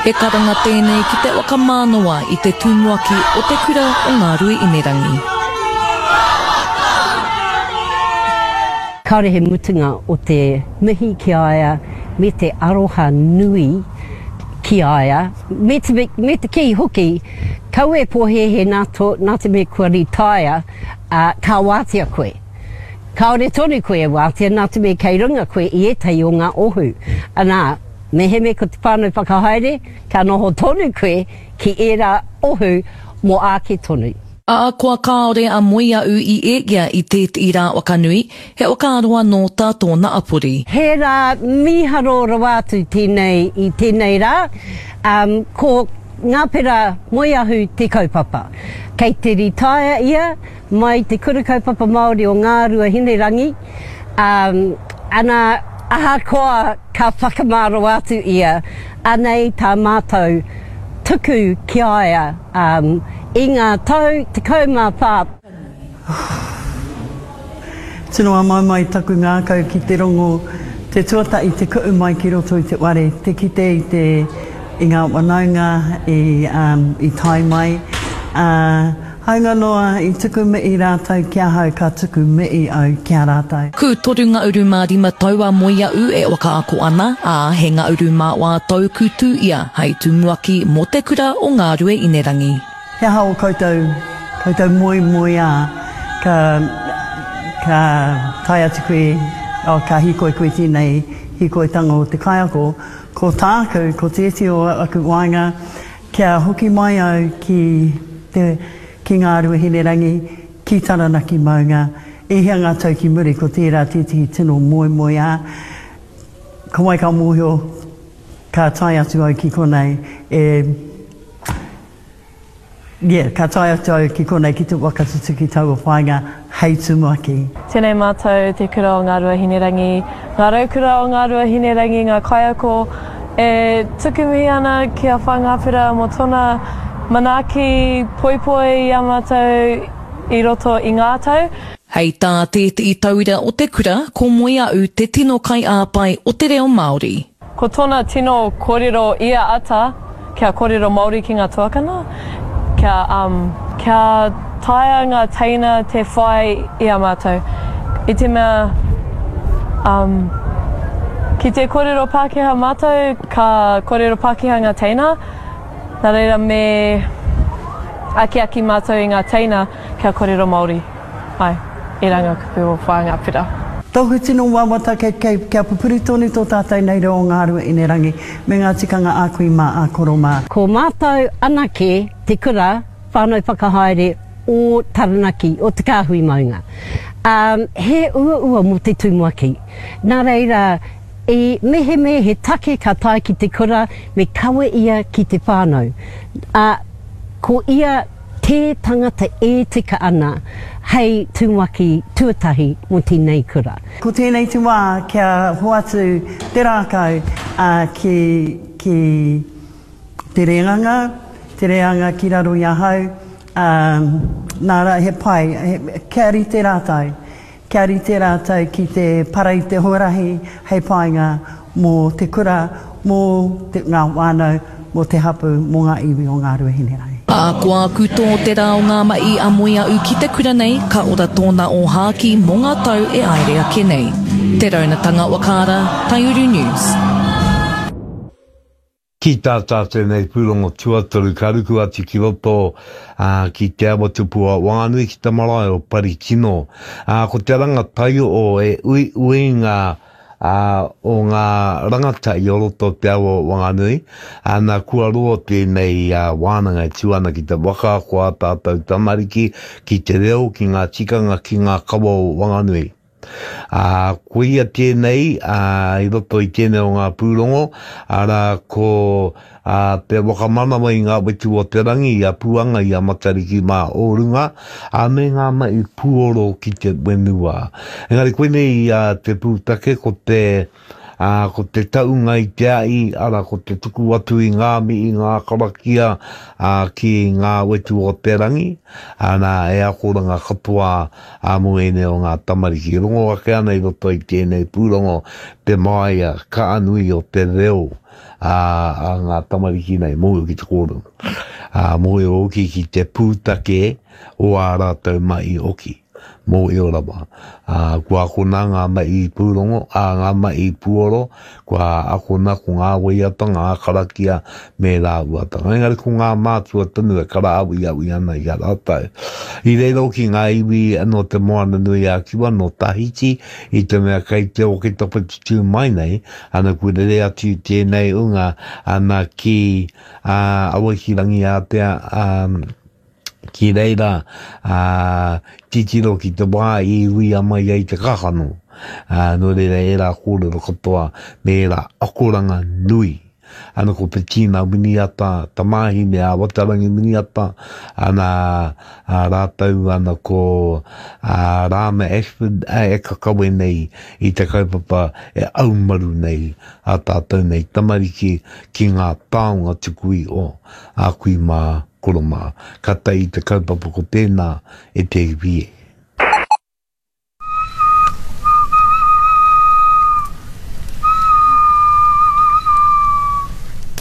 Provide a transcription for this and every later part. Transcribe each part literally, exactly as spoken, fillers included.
He karanga tēnei ki te whakamānawa i te tumuaki o te kura o Ngāruahinerangi. Kāore he mutunga o te mihi ki a ia me te aroha nui ki a ia, me te, me te kī hoki, kaua e pōhēhē nā, tō, nā te mea kua ritaia, uh, ka wātea koe. Kāore tonu koe e wātea nā te mea kei runga koe i ētahi o ngā ohu. Anā, mehemea ko te whānau whakahaere, ka noho tonu koe ki ērā ohu mō ake tonu. Ahakoa kāore a Moeaʻu i ekea i tētehi rā wakanui, he whakaaro anō tā tōna apori. He rā mīharo rawa atu tēnei i tēnei rā, um, ko Ngāpera Moeahu te kaupapa. Kei te ritaia ia mai te Kura Kaupapa Māori o Ngāruahinerangi, um, ana ahakoa ka whakamā rawa atu ia, anei tā mātou tuku ki a ia um, i ngā tau tekau mā whā. Tino āmaimai taku ngākau ki te rongo, te tuatahi te ku'u mai ki roto i te whare, te kite i te i ngā whanaunga i, um, i tae mai. Uh, hāunga noa i tuku mihi rātou ki ahau, ka tuku mihi au ki a rātou. Ku toru ngahuru mā rima tau a Moeaʻu e whakaako ana, ā, he ngahuru mā whā tau ku tū ia hei tumuaki mō te kura o Ngāruahinerangi. He aha o koutou, koutou moemoeā, ka, ka tae atu koe, oh, ka hīkoi koe tēnei hīkoitanga o te kaiako, ko tāku, ko tētehi o aku whāinga, kia hoki mai au ki te, ki Ngāruahinerangi, ki Taranaki maunga, e hia ngā tau ki muri, ko tērā tētehi tino moemoeā. Ko wai ka mōhio, ka tae atu au ki konei, e, yeah, ka tae atu au ki konei ki te whakatutuki taua whāinga hei tumuaki. Tēnei mātou te kura o Ngāruahinerangi, ngā raukura o Ngāruahinerangi, ngā kaiako e tuku mihi ana ki a Whangapera mō tōna manaaki poipoi i a mātou i roto i ngā tau. Hei tā tētehi tauira o te kura, ko Moeaʻu te tino kaiāpai o te reo Māori. Ko tōna tino kōrero ia ata, kia kōrero Māori ki ngā tuakana, kia, um, kia taea ngā teina te whai i a mātou. I te mea, um, ki te kōrero Pākehā mātou, ka kōrero Pākehā ngā teina, nā reira me akiaki mātou i ngā teina kia kōrero Māori. Ai, ērā ngā kupu o Whangapera. Tōku tino wawata kei, kei, kia pupuri tonu tō tātou nei reo o Ngāruahinerangi me ngā tikanga a kui mā, a koro mā. Ko mātou anake te kura whānau whakahaere o Taranaki, o Te Kāhui Maunga. Um, he uaua mō te tumuaki. Nā reira, i mehemea he take ka tae ki te kura, me kawe ia ki te whānau. Uh, ko ia te tangata e tika ana hei tumuaki tuatahi mō tēnei kura. Ko tēnei te wā kia hoatu te rākau uh, ki, ki te reanga, te reanga ki raro i ahau, um, nā rā he pai, he, kia rite rātou, kia rite rātou ki te para i te huarahi hei painga mō te kura, mō te, ngā whānau, mō te hapu, mō ngā iwi o Ngāruahinerangi. Ahakoa ku tō te rā o ngā mahi a Moeaʻu ki te kura nei, ka ora tōna ōhākī mō ngā tau e aere ake nei. Te Raunatanga Wakaara, Taiuru News. Ki tā tātou nei pūrongo tuatoru, ka ruku atu ki roto uh, ki te awa tupu o Wanganui ki te marae o Parikino. Uh, ko te rangatai o e uiuinga uh, o ngā rangatahi o roto o te awa o Wanganui. Ana kua roa tēnei uh, wānanga e tū ana ki te waka ko ā tātou tamariki ki te reo, ki ngā tikanga, ki ngā kawa o Wanganui. Uh, ko ia tēnei uh, i roto i tēnei o ngā pūrongo, arā ko uh, te whakamanawa i ngā wetu o te rangi, i a Puanga, i a Matariki mā o runga, a me ngā mahi puoro ki te whenua. Engari koinei uh, te pūtake ko te uh, ko te taunga i te ai, ara ko te tuku atu i ngā mihi, ngā karakia uh, ki ngā wetu o te rangi, ana e akoranga katoa a mō ēnei o ngā tamariki. Rongo ake ana i roto i tēnei pūrongo te māia ka nui o te reo a, a ngā tamariki nei, mōhio ki te kōrero. Ā, mōhio hoki ki te pūtake o ā rātou mahi hoki. Mōhio rawa. Ā, kua akona ngā mahi pūrongo, ā, ngā mahi puoro, kua akona ko ngā waiata, ngā karakia, me ērā āhuatanga. Engari ko ngā mātua tonu e karaawiawi ana i a rātou. I reira hoki ngā iwi nō Te Moananui-a-Kiwa, nō Tahiti, i te mea kei te Oketopa te tū mai nei, ana kua rere atu tēnei unga ana ki, ā, Awaiki Rangiātea, ā, ki reira, ā, titiro ki te wā i uia mai ai te kakano. Ā, nō reira ērā kōrero katoa me ērā akoranga nui. Ana ko Petina Winiata, tamāhine a Watarangi Winiata, ana a rātou ana ko a Rāma Ashford e kakawe nei i te kaupapa e aumaru nei a tātou nei tamariki ki ngā taonga tuku iho a kui mā, koro mā. Ka tae i te kaupapa ko tēnā e te iwi e.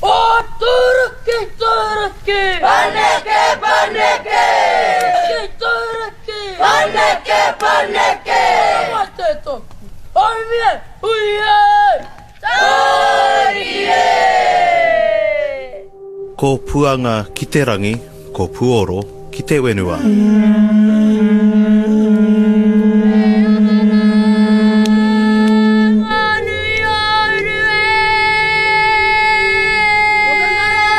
O Turuki, Turuki! Paneke, paneke! Turuki, Turuki! Paneke, paneke! Mate toku! Oi ui e! Turuki e! Ko Puanga ki te rangi, ko Puoro ki te whenua.